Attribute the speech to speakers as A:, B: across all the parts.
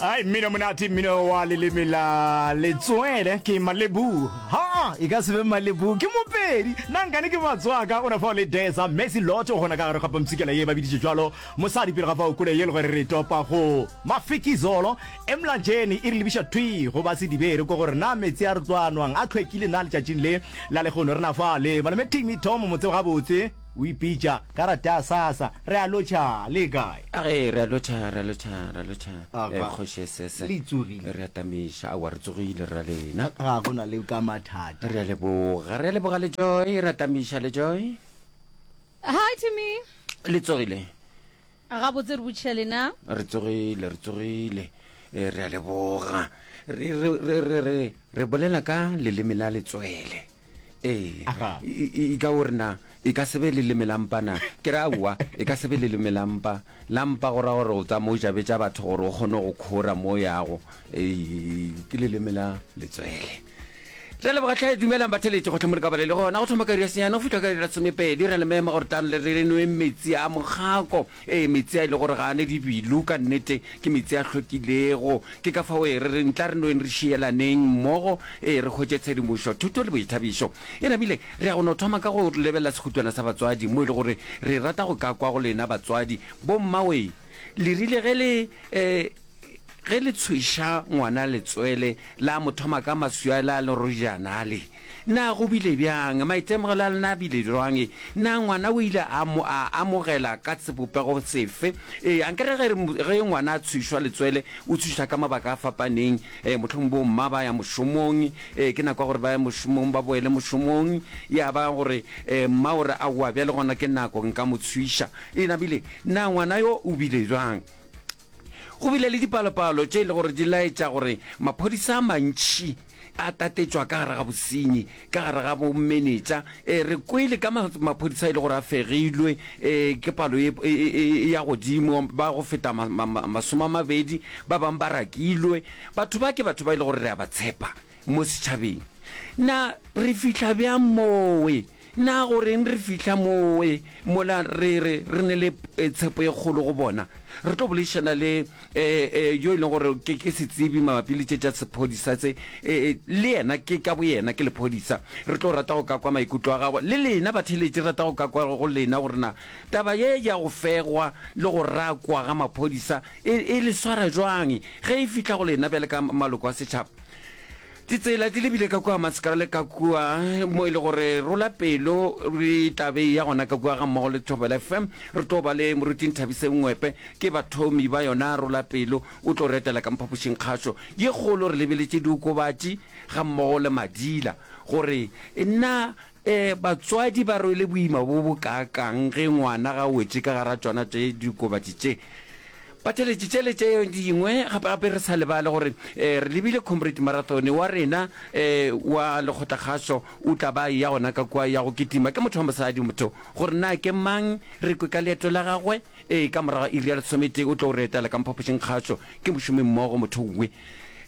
A: Ai mmino monate mmino wa leleme la letswele ke malebu ha e ka se be malebu ke mopedi nna nkane ke matswaka o na fao le desa messi lotto gona ka gare ga pampshikela ye ba biditše jwalo mosadi pele ga fao kole ye le gore re topa go mafikizolo emlanjeni e re lebiša thwi go ba sedibere ko gore na metsi a re tlo a nwang a tlhwekile na letšatšing le la lehono re na fa le malome timi tom motsebo gabotse O ipitša karata ya SASSA. Re a lotšha, le kae?
B: A ge, re a lotšha, re a lotšha, re a lotšha,
A: Aga.
B: eh, Kgoši Esese.
A: Le tsogile?
B: Re a tamiša. Aowa, re tsogile, re ra lena.
A: Ga go na le ka mathata.
B: Re a leboga, re a leboga le Joy, re a tamiša le Joy.
C: Hi Timmy.
B: Le tsogile?
C: Gabotse re botšiša lena.
B: Re tsogile, re tsogile. Eh, re a leboga. Re, re, re, re, re, re bolela ka leleme la letswele. Ee.
A: Aga.
B: E, e, e ka o re na, e ka se be leleme la mpa na? Ke re aowa, e ka se be leleme la mpa. La mpa go ra gore o tsama o jabetša batho gore o kgone go khora mo o yago. Ee, ke leleme la letswele. Re a leboga tlhe, dumelang batheletši gohle mo le ka ba le le gona. Go thoma ka iri ya senyane go fihla ka iri ya lesomepedi, re a le mema gore tlang le re nweng metsi a mokgako. Ee, metsi a e le gore ga a ne dibilu, ka nnete ke metsi a hlwekilego. Ke ka fao ee re reng tla re nweng re šielaneng mmogo, ee re hwetše tshedimošo, thuto le boithabišo. E namile re ya go no thoma ka go lebelela sekhutwana sa batswadi mo e le gore re rata go ka kwa go lena batswadi. Bommawee, le rile ge le ee, Ge le tshweša ngwana letswele, la mo thoma ka maswi a la lerojana ale. Na go bile bjang? Maitemogelo a lena a bile bjang? Na ngwana o ile a mo a amogela ka sebopego sefe? Ee, ankere ge re, ge ngwana a tshwešwa letswele, o tshwešwa ka mabaka a fapaneng. Ee, mohlomong bomma ba ya mošomong, ee, ke nako ya gore ba ye mošomong, ba boele mošomong. Ya ba gore, ee, mma o re, Aowa, bjale gona ke nako, nka mo tshweša. E nabile, na ngwana yo o bile bjang? Go bile le dipalopalo tše e le gore di laetša gore maphodisa a mantši a tatetšwa ka gare ga bosenyi, ka gare ga bomenetša. E, re kwele ka maphodisa e le gore a fegilwe e, ke palo e, e, e, e ya godimo, ba go feta 20, ba bangwe ba rakilwe. Batho ba ke batho ba e le gore re a ba tshepa mo setšhabeng. Na re fihla bjang mowe? Na go reng re fihla mowe mola re re re ne le tshepo e kgolo go bona? Re tlo boledišana le yo e leng gore ke ke setsebi mabapi le tše tša sephodisa tse, le yena ke ka boyena ke lephodisa. Re tlo rata go ka kwa maikutlo a gagwe. Le lena batheeletši re rata go ka kwa go lena gore na taba ye ya go fegwa le go rakwa ga maphodisa e, e le swara jwang ge e fihla go lena bjale ka maloko a setšhaba. Ditsela di lebile ka kua Mascara le ka kua mo e le gore rola pelo re tla be ya gona ka kua ga mmogo le Thobela FM. Re tlo ba le Moruti Nthabiseng Ngwepe ke bathomi ba yona rola pelo o tlo re etela ka mphapošing kgašo ye kgolo re lebeletše diokobatši ga mmogo le madila gore na um batswadi ba rwele boima bo bo kaakang ge ngwana ga wetše ka gara tšona tše diokobatši tše. Batheeletši tše le tše dingwe gape gape re sa lebale gore eh, re lebile Comrade Marathon wa rena eh, wa lekgotlakgašo o tla ba ya gona ka kua ya go kitima ke motho wa mosadi motho gore na ke mang re kwe ka leeto la gagwe ee ka morago iri ya lesometee o tlo re etela ka mphapošing kgašo ke mošomi mmogo motho we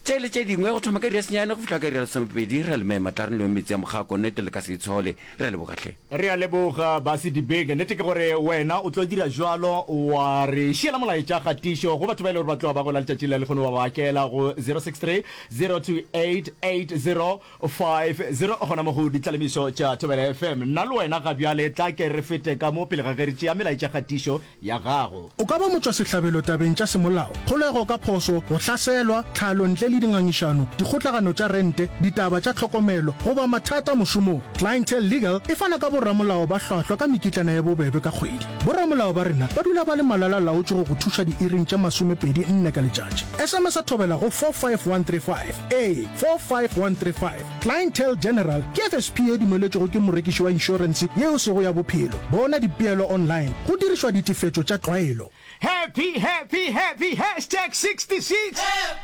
B: tše le tše dingwe go thoma ka iri ya senyane go fihla ka iri ya lesomepedi re a le mema tla re nweng metsi a mokgako nnete le ka se itshole Re a leboga hle.
A: Re a leboga Basi Dibeke. Nnete ke gore wena o tlo dira jwalo wa re šiela molaetša kgatišo go batho ba e le gore ba tloga ba gola letšatši la lehono wa ba akela go 063 028 8050 gona mo go ditlalemišo tša Thobela FM. Nna le wena ga bjale tla ke re fete ka mo pele ga ge re tšea melaetša kgatišo ya gago.
D: O ka ba motšwasehlabelo tabeng tša semolao, kgolego ka phošo, go hlaselwa, tlhalo ntle le dingangišano, dikgotlagano tša rente, ditaba tša tlhokomelo, goba mathata mošomong. Clientele Legal e fana ka boramolao ba hlwahlwa ka mekitlana ye bobebe ka kgwedi. Boramolao ba rena ba dula ba le malala-laotšwe go go thuša diiring tše 24 ka letšatši. SMS-a thobela go 45135. Ee, 45135. Clientele General ke FSP ye dumeletšwego ke morekiši wa inšorense ye e sego ya bophelo. Bona dipeelo online go dirišwa ditefetšo tša tlwaelo.
A: Happy happy happy hashtag 66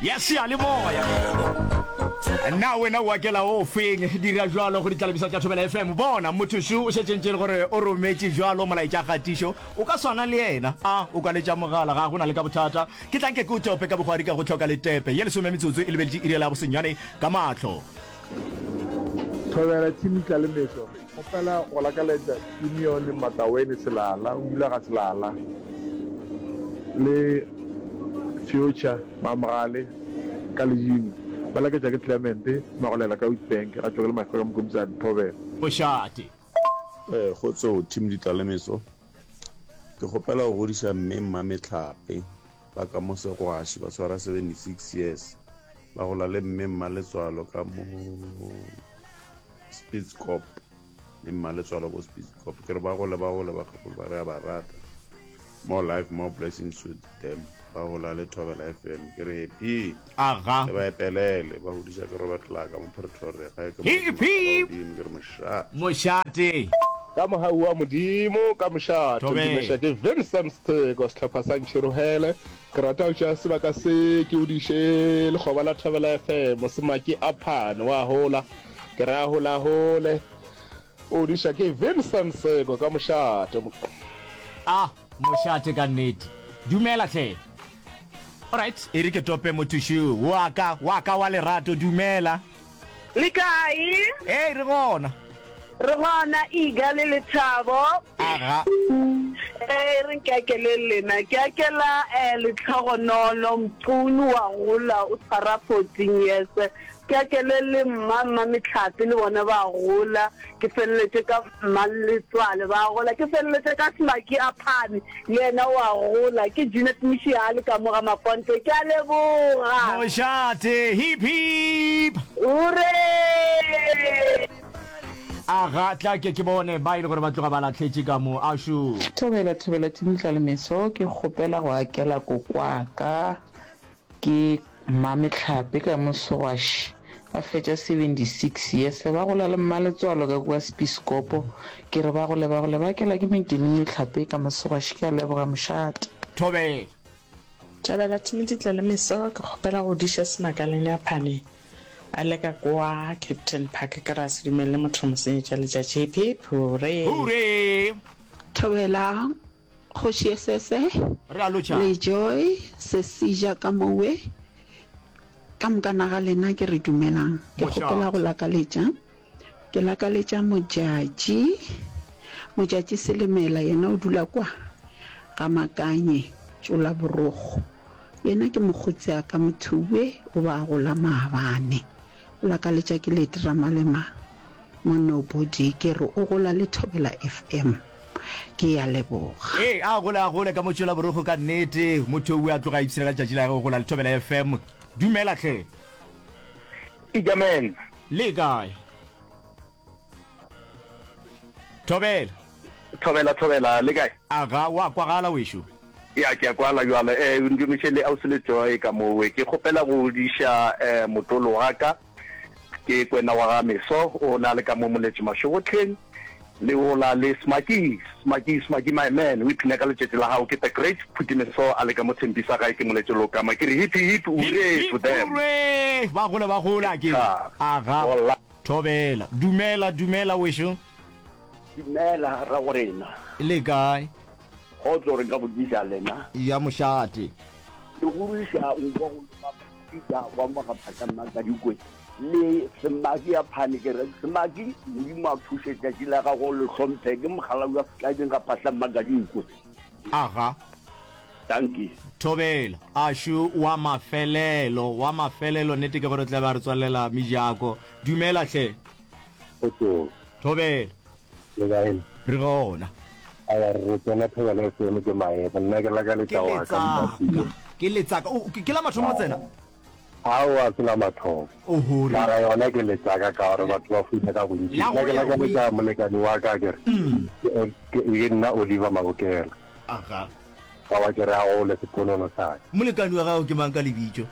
A: ya seyalemoya. Na wena o akela o feng? Dira jwalo go ditlalebisa tša Thobela FM. Bona motho šo o šetše ntše e le gore o rometše jwalo molaetša kgatišo. O ka swana le yena. A o ka letša mogala? Ga go na le ka bothata. Ke tla nke ke o tope ka bogwari ka go hloka letepe. Ye lesome metsotso e lebeletše iri ya bosenyane ka mahlo.
E: Thobela Team Tlalemeso, Kgopela go lakaletša Simeon Mataweni Selala, o dula ga Selala, le. Future, Mamogale, ka Lejino. Ba laketša ke Clement, Magolela ka Witbank, ga tšwa ke le Mafeka Mokomisane, Thobela.
A: Mošate.
F: Kgotso team Ditlalemeso. Ke kgopela go godiša mme Mmametlhape ba ka mo Segwaši ba tshwara 76 years ba gola le mme Mmaletswalo ka mo Spitzkop le Mmaletswalo ko Spitzkop ke re ba gole ba gole bakgekolo ba re a ba rata more life more blessings to them ba gola le Thobela FM ke re happy
A: Aga.
F: le ba epelele ba godiša ke Robert Laka mo Pretoria gae ke
A: Hip, hip.
F: Modimo ke re mošate
A: Mošate.
G: Ka mogau wa Modimo, ka mošate,
A: Thobela.
G: Ntumeša ke Vincent Stheko, sehlopha sa Ntšhirohele. Ke rata go tšea sebaka se ke godiše lekgoba la Thobela FM, Semaki Aphane wa hola. Ke re a holahole. O godiša ke Vincent Stheko, ka mošate.
A: A mošate ka nnete. Dumela hle. Alright, e re ke tope motho šo wa ka, wa ka wa lerato. Dumela.
H: Le kae?
A: Ee, re gona.
H: Re gona, Iga le Lethabo.
A: Aga.
H: Ee, re nke akele lena. Ke akela eh, Letlhogonolo, Mqunu wa gola, o tshwara 14 years. Ke akele le mma, mma Mehlape le bona ba gola. Ke feleletše ka mma Letswale ba gola. Ke feleletše ka Smaki a Phane le yena o a gola. Ke Jeanette Moshiale ka mo ga Maponte. Ke a leboga.
A: Mošate, hip hip!
H: Hurray!
A: Aga, tla ke ke bone ba e le gore ba tloga ba lahletše ka mo. Ašoo.
I: Thobela thobela team Tlalemeso ke kgopela go akela kokwaka Ke Mmamehlape ka mo Sogwaši, ba fetša 76 years ba gola le Mmaletswalo ka kua Spiskopo. Ke re ba gole ba gole ba kela ke Medini Mehlape ka mo Sogwaši. Ke a leboga mošate.
A: Thobela.
J: Thabela Timothy Tlalemeso, ke kgopela go diša Semakaleng a Phane a le ka kwa Captain Park ke re a se dumelele motho go mo senyetša letšatši. Hip hip hurray!
A: Hurray!
K: Thobela Kgoši Esese,
A: Re a lotšha.
K: le Joy, Sesija ka mowe, ka mokana ga lena ke re dumelang. Ke kgopela go lakaletša, ke lakaletša Modjadji, Modjadji Selemela, yena o dula kwa ga Makanye, Tšola Borokgo. Yena ke mokgotsi a ka Mothuwe, o ba a gola maabane. O lakaletša ke Lady Ramalema mo Nobody, ke re o gola le Thobela FM. Ke ya leboga.
A: Ee, a gole a gole ka mo tšwela borokgo ka nnete. Motho o a tloga a ipshina ka letšatši la gagwe go gola le Thobela FM. Dumela hle.
L: Ija man.
A: Le kae? Thobela.
L: Thobela thobela le kae?
A: Aga, wa kwagala wešo.
L: Ya ke a kwala jwale. Eh ndumiše le ausi le Joy ka mowe. Ke kgopela go diša eh motolo wa ka. Ke kwena wa ga Meso o na le ka mo Moletše Mašogotleng le ola le Smaki Smaki Smaki my man o iphina ka letšatši la gago ke the great Phuti Meso a le ka mo Thempisa gae ke Moletše Lokama ke re hip hip hooray to them.
A: Hooray ba gole ba gola ke aga thobela dumela dumela wešo.
M: Dumela ragorena.
A: Le kae?
M: Kgotso re ka botšiša lena.
A: Ya mošate.
M: Ke godiša nko go loma Peter wa mo ga Phahla Mmakadikwe le Semaki ya Phane ke re Semaki Modimo a thuše tšatši la gago le hlomphe ke mogala wa Setlabeng ga Phahla Mmakadikwe.
A: Aga.
M: Dankie.
A: Thobela. Ašu wa mafelelo, wa mafelelo, nnete ke gore tla be a re tswalela mejako. Dumela hle.
N: Kgotsong.
A: Thobela.
N: Le kae?
A: Re gona.
N: Awa re tsena Thobela FM ke maemo. Nna ke lakaletša
A: Ke
N: wa ka
A: letsaka.
N: Mpapile.
A: Ke letsaka. O, ke la mathomo go tsena?
N: Aowa se la mathomo.
A: Oho, re.
N: Mara yona ke letsaka ka gore batho ba funa ka bontši.
A: La
N: Nna
A: go
N: ke
A: ya
N: lakaletša molekani wa ka ke re. Ke, ke, ke nna Oliver Mabokela.
A: Aga.
N: Aowa ke re a gole seponono sa ka.
A: Molekani wa gago ke mang ka lebitso?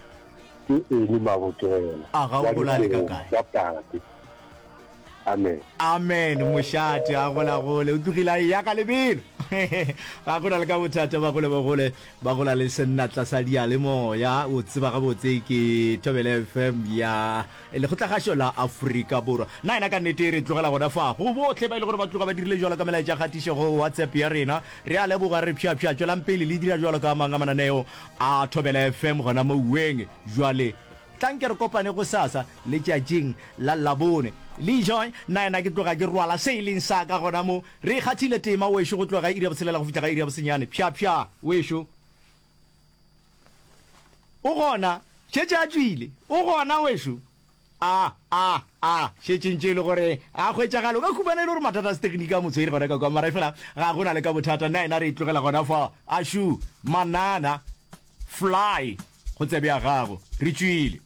N: Ke Eni Mabokela.
A: Aga o gola le ka kae?
N: Wa tate. Amen.
A: Amen mošate a gola gole o tlogile a eya ka lebelo ga gona le ka bothata ba gole ba gole ba gola le senatla sa diyalemoya o tseba gabotse ke Thobela FM ya lekgotlakgašo la Afrika Borwa na yena ka nnete re tlogela gona fa go bohle ba e le gore ba tloga ba dirile jwalo ka melaetša kgatišo go WhatsApp ya rena re a leboga re pšhapšha tšwelang pele le dira jwalo ka mang a mananeo a Thobela FM gona mo uweng jwale Tlang ke re kopane gosasa, letšatšing la Labone. Le Joy, nnaena ke tloga ke rwala se e leng sa ka gona mo. Re kgathile tema wešo go tloga ka iri ya botshelela go fihla ka iri ya bosenyane. Pšha-pšha, wešo. O gona? Šetše a tšwile. O gona, wešo? A, a, a šetše ntše e le gore a hwetšagale. O ka humana e le gore mathata a setegniki a mo tshwere gona ka kwa, mara efela ga go na le ka bothata. Nna yena re e tlogela gona fa. Ašu, manana, fly, go tsebe ya gago. Re tšwile.